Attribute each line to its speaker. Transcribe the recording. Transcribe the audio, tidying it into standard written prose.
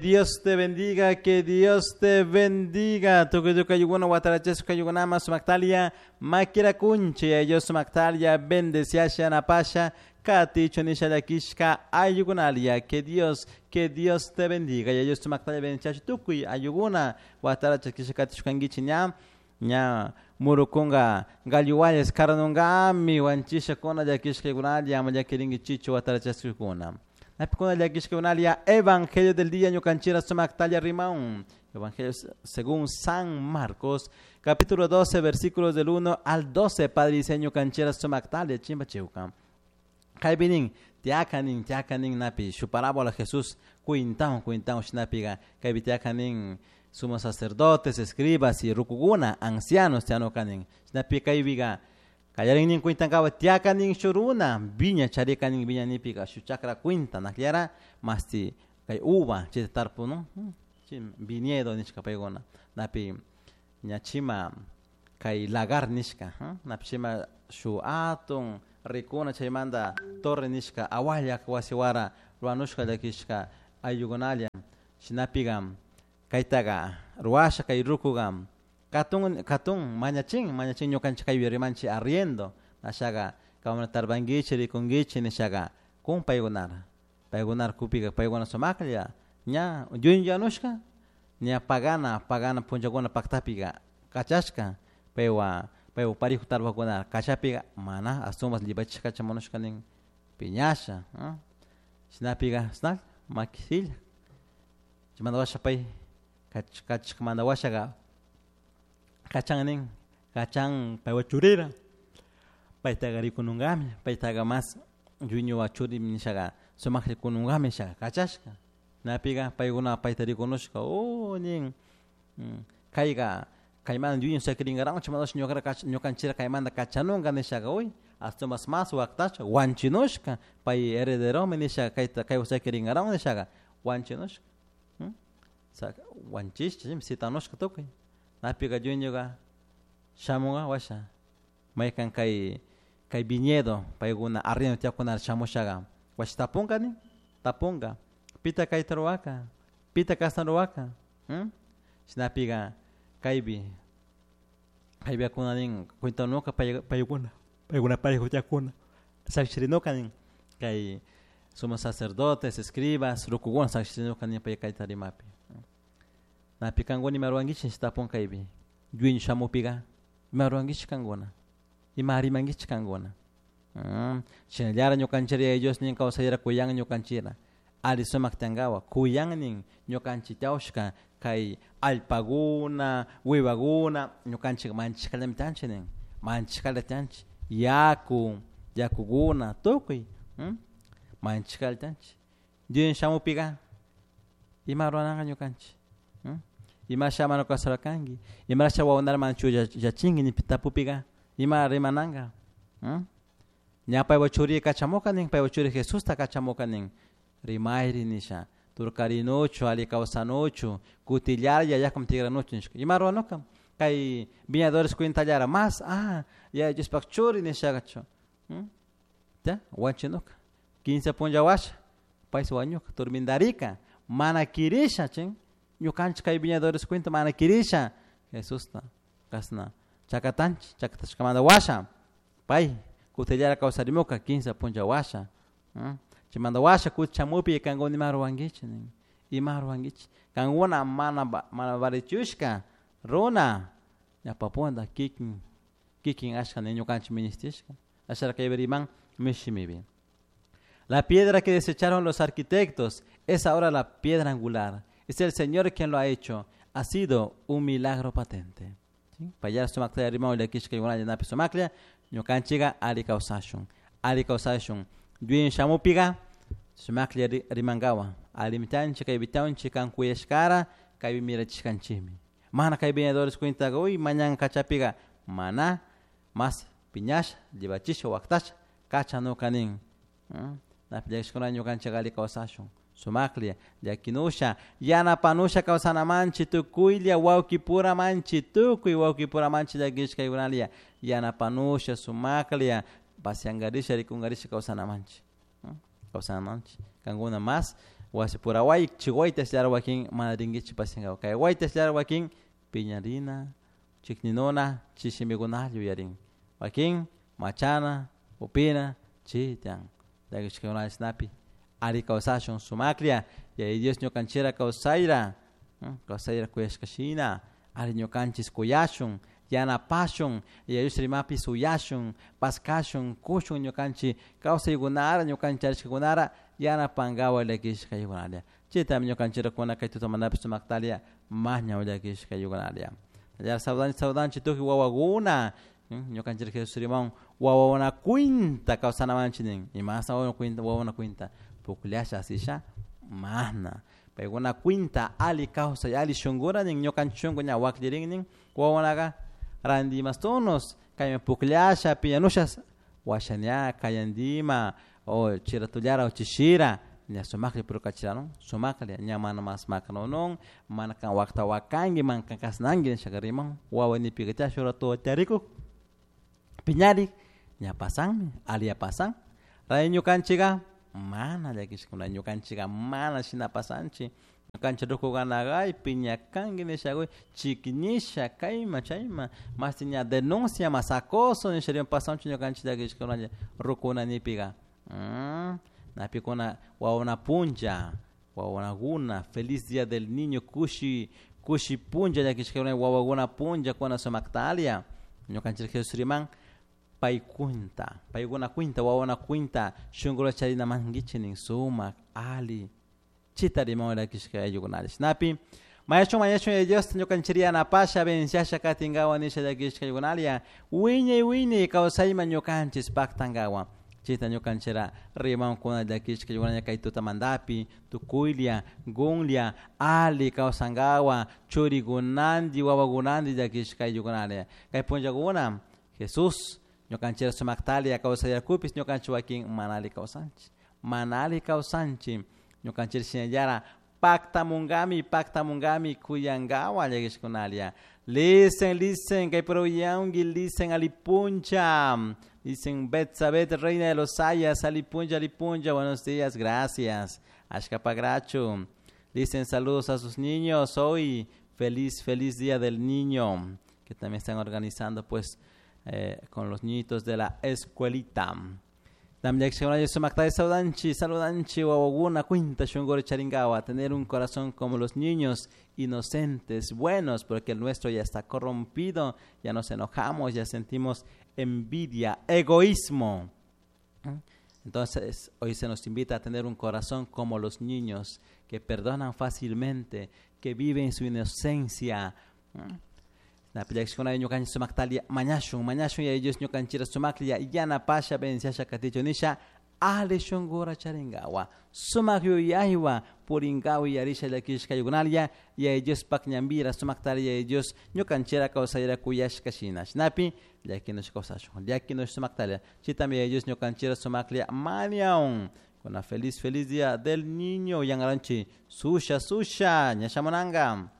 Speaker 1: Dios te bendiga, que Dios te bendiga. Tukuy tukuy ayllukuna watarachashka ayllukuna sumactalia makira kunchi ellos sumactalia bendeciasha napasha katichu nisha llakishka ayllukunalia. Que Dios te bendiga. Y ellos sumactalia bendeciasha tukuy ayllukuna watarachashka katishkankichi ña ña murukunga galluwayas karanungami wanchishakuna llakishkakunalia ama llakirinkichichu watarachashkakuna. Napikuna llakishkakunalia Evangelio del día ñukanchira sumactalia rimaun. Evangelio según San Marcos, capítulo 12, versículos del 1 al 12, Padre diseño canchera sumactalia chimba chiuca. Kaibinin, tiakanin, tiakanin napi, shu parábola Jesús, cuintaun, cuintaun shinapiga, kaypi tiakanin sumos sacerdotes, escribas y rukuguna, ancianos tianokanin. Shinapi kaypiga, kallarinin cuintankawa tiakanin shuruna, viña charikanin viña nipiga, shu chakra cuinta, nakliara, masti, kay uva, chita tarpu, no? Viñedo nishka paykuna, napi ñachima kay lagar nishka, napi chima shu atun rikuna chaymanta torre nishka awallak wasiwara ruwanushka llakishka ayllukunalla shinapiga kaytaga ruwasha kay rukuga katun katun mañachin mañachin ñukanchik kaypi rimanchik arriendo nashaga kaymanta tarpankichik rikunkichik nishaga kun paykunara paykunara kupiga paykuna sumaklla ña yuyuyanushka ña pagana pagana punllakuna paktapiga kachashka paywan paywan parijo tarpakuna kachapiga mana ashtawanpas llipachishka kachamunushka nin piñasha shinapiga chashnalla makisilla chaymanta washa pay kachashkamanta washaga kachan nin kachan paywan churira paytaga rikununkami paytaga mas yuyñuwa churi nishaga sumakta rikununkami nishaga kachashka napiga paykuna payta rikunushka oh nin kayga kaymanta yuyun sakirinkarakun chaymanta ñukara ñukanchikra kaymanta kachanunka nishaga uy ashtawanpas mas waktashka wanchinushka pay herederomi nishaga kayta kaywan sakirinkarakun nishaga wanchinushka wanchishka sitanushka tukuy napika yuyñuka shamunka washa maykan kay kay viñedo paykuna arriendo tiyakuna shamushaga washa tapunka nin tapunka pita kayta ruwaka pita kashna ruwaka shinapika kaypi kaypi nin cuentanuka paykuna paykuna parejo tiyakuna sakshirinuka nin kay sumos sacerdotes escribas rukukuna sakshirinuka nin pay kayta rimapi napi kankuna ima ruwankichik tapun kaypi yuyni shamupika ima ruwankichik kankuna ima rimankichik kankuna shinallara ñukanchik Yaya Dios nin kawsayra kuyan ñukanchikra alli sumak tiyankawa kuyan nin ñukanchik tiyawshka kay allpakuna wiwakuna ñukanchik manchashkallami tiyanchik nin manchashkalla tiyanchik yaku yakukuna tukuy manchashkalla tiyanchik Dios shamupika ima ruranaka ñukanchik imasha mana kawsarkanki imasha wawanara mana chuyachinki nipi tapupika ima rimananka ña paypak churi kachamuka nin paypak churi Jesusta kachamuka nin rimayri nisha turkarinuchu alli kawsanuchu kutillara yayakman tigranuchu nishka ima ruranuka kay viñadores cuentallara mas ah Yaya Diospak churi nishakachu ya wanchinuka quince punlla washa paysi wañuka turmindarika mana kirisha chin ñukanchik kay viñadores cuenta mana kirisha Jesusta kashna chakatanchik chakatashkamanta washa pay kutillara kawsarimuka quince punlla washa chaymanta washa kuti shamupi kankuna ima ruwankichik nin ima ruwankichik kankuna mana mana valichushka runa ñawpa kikin kikin ashka nin ñukanchik ministishka ashara kaypi riman mishimipi. La piedra que desecharon los arquitectos es ahora la piedra angular. Es el Señor quien lo ha hecho. Ha sido un milagro patente. Payara sumakta rimau llakishka napi sumaklla ñukanchika alli kawsashun alli kawsashun yuyin shamupiga sumaklla rimankawa allimi tiyanchik kaypi tiyanchik kan kuyashkara kaypi mirachishkanchikmi mana kay viñadores cuentaka uy mañan kachapiga mana mas piñasha llipachisha waktasha kachanuka nin napi llakishkuna ñukanchik alli kawsashun sumaklla llakinusha yanapanusha kawsanamanchik tukuylla wawkipuramanchik tukuy wawkipuramanchik llakishkaykunalla yanapanusha sumaklla pasiankarisha rikunkarisha kawsanamanchik kawsanamanchik kankuna mas. Wasi pura way chi wayta wakin mana rinkichik pasiankapak kay wayta wakin piñarina chikninuna chi shimikunalla yuyarin wakin machana upina chi tiyan llakishkakuna chashnapi ari kawsashun sumaklla Yaya Dios ñukanchikra kawsayra kawsayra kuyashka shina ari ñukanchik kuyashun yanapashun Yaya Dios rimapi suyashun paskashun kushun ñukanchik kawsaykunara ñukanchik charishkakunara yanapankawan llakishka ayukunalla chaytami ñukanchikrakuna kay tutamantapish sumaktalla maña llakishka ayukunalla saludanchik saludanchik tukuy wawakuna ñukanchik Jesús rimawan wawakuna cuenta kawsanamanchik nin imasa wawakuna cuenta pukllasha asisha mana paykuna cuenta alli kawsay alli shunkura nin ñukanchik shunku ña wakllirin nin wawakunaka ranti imastunos kayman pukllasha piñanusha washa ña kayantima o chiratullara o chishira ña sumaklla purkachirarun sumaklla ña mana mas makanunun mana kan wakta wakanki mana kan kashnanki nishaka riman wawa nipika chay shuk rato charikuk piñarik ña pasanmi alli pasan ray ñukanchika mana llakishkuna ñukanchika mana shina pasanchik ñukanchik rukukunaka ay piñakanki nishakuy chiknisha kayman chayman mashti ña denuncia mas acoso nisha pasanchu ñukanchik llakishkunalla rukuna nipika napikuna wawakuna punlla wawakuna feliz día del niño kushi kushi punlla llakishkakuna wawakuna punlla kuna sumaktalia ñukanchik Jesús riman pay cuenta paykuna cuenta wawakuna cuenta shunkura charina mankichik nin sumak alli chita riman llakishka ayllukunalla shinapi mañashun mañashun Yaya Diosta ñukanchik yanapasha venciasha katinkawan nisha llakishka ayllukunalla wiñay wiñay kawsayman ñukanchik paktankawan chayta ñukanchikra rimankuna llakishka ayllukunalla kay tutamantapi tukuylla kunlla alli kawsankawan churikunanti wawakunanti llakishka ayllukunalla kay punllakuna Jesús ñukanchikra sumaktalla kawsayarkupis ñukanchik wakin mana alli kawsanchik mana alli kawsanchik ñukanchik shinallara paktamunkami paktamunkami kuyankawan llakishkunalla listen listen kay uyanki listen alipuncha dicen Betsabet reina de los Sayas alipuncha alipuncha buenos días gracias ashkapagrachu dicen saludos a sus niños hoy feliz feliz día del niño que también están organizando pues con los niñitos de la escuelita. Saludanchi, saludanchi, wawakuna cuenta shunkura charinkawa, tener un corazón como los niños, inocentes, buenos, porque el nuestro ya está corrompido, ya nos enojamos, ya sentimos envidia, egoísmo. Entonces, hoy se nos invita a tener un corazón como los niños, que perdonan fácilmente, que viven su inocencia. Napillakshkuna ñukanchik sumaktalia mañashun mañashun Yaya Dios ñukanchikra sumaklla yanapasha venciasha katichun nisha alli shunkura charinkawa sumak yuyaywan purinkawa yuyarisha llakishka ayllukunalla Yaya Diospak ñanpira sumaktalla Yaya Dios ñukanchikra kawsayra kuyashka shina shinapi llakinush kawsashun llakinush sumaktalla chaytami Yaya Dios ñukanchikra sumaklla mañan kuna feliz feliz día del niño yangaranchi susha susha ña shamunanka.